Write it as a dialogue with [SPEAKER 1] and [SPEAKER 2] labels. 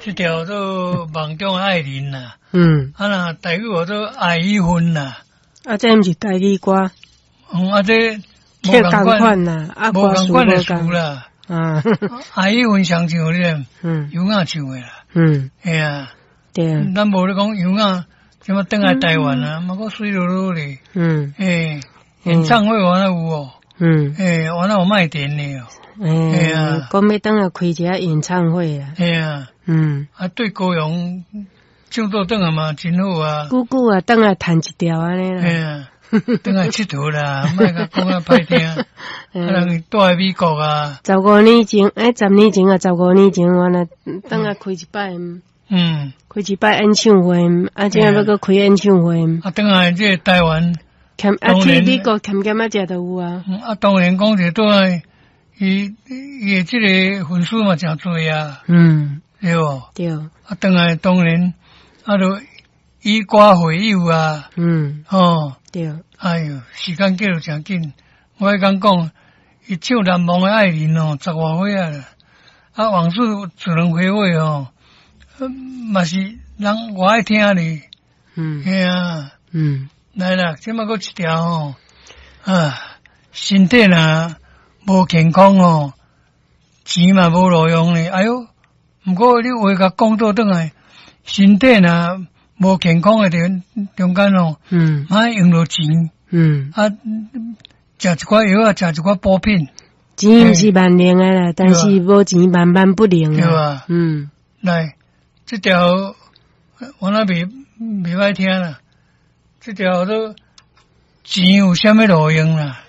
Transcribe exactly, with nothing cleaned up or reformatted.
[SPEAKER 1] 這條做夢中愛人啦。
[SPEAKER 2] 嗯。
[SPEAKER 1] 啊若台語號做愛與恨啦。
[SPEAKER 2] 啊，這毋是台語歌。
[SPEAKER 1] 嗯，啊，這
[SPEAKER 2] 無仝款啦，啊，
[SPEAKER 1] 無仝款的詞啦。
[SPEAKER 2] 啊，
[SPEAKER 1] 愛與恨上唱咧，
[SPEAKER 2] 嗯，
[SPEAKER 1] 優雅唱的啦。
[SPEAKER 2] 嗯，
[SPEAKER 1] 嘿啊。
[SPEAKER 2] 對啊。
[SPEAKER 1] 咱無咧講優雅，這麼轉來台灣啊，嘛閣媠漉漉咧。
[SPEAKER 2] 嗯。
[SPEAKER 1] 嘿，演唱會原來有哦。
[SPEAKER 2] 嗯。
[SPEAKER 1] 嘿，原來有賣電的哦。
[SPEAKER 2] 嘿啊，講欲轉來開一下演唱會啊。
[SPEAKER 1] 嘿啊。
[SPEAKER 2] 嗯。
[SPEAKER 1] 啊，對高雄唱做轉來嘛真好啊。
[SPEAKER 2] 久久啊，轉來彈一條按呢啦。
[SPEAKER 1] 嘿啊，轉來𨑨迌啦，莫共講啊歹聽。啊，人蹛佇美國啊。
[SPEAKER 2] 十五年前，欸，十年前啊，十五年前，原來轉來開一擺。
[SPEAKER 1] 嗯。
[SPEAKER 2] 開一擺演唱會，啊，這下欲閣開演唱會。
[SPEAKER 1] 啊，轉來這個台灣。
[SPEAKER 2] 欠啊，去美國欠欠仔食都有啊。
[SPEAKER 1] 啊，當然講者轉來，伊伊的這個粉絲嘛誠濟啊。
[SPEAKER 2] 嗯。
[SPEAKER 1] 對無？
[SPEAKER 2] 對。
[SPEAKER 1] 啊，轉來當然，啊，就以歌會友啊。
[SPEAKER 2] 嗯。
[SPEAKER 1] 吼。
[SPEAKER 2] 對。
[SPEAKER 1] 哎喲，時間過得誠緊，我彼工講，伊唱難忘的愛人哦，十外歲啊啦。啊，往事只能回味哦，嘛是人我愛聽哩。
[SPEAKER 2] 嗯。
[SPEAKER 1] 嘿啊。
[SPEAKER 2] 嗯。
[SPEAKER 1] 來啦，這擺閣一條吼，啊，身體若無健康吼，錢嘛無路用咧。哎喲，毋過你話共講倒轉來，身體若無健康的中中間吼，
[SPEAKER 2] 嗯，
[SPEAKER 1] 嘛用著錢，
[SPEAKER 2] 嗯，
[SPEAKER 1] 啊，食一寡藥啊，食一寡補品。
[SPEAKER 2] 錢毋是萬能的啦，但是無錢萬萬不能。
[SPEAKER 1] 對啊。
[SPEAKER 2] 嗯，
[SPEAKER 1] 來，這條我那袂袂歹聽啦。這條做錢有啥物路用啦？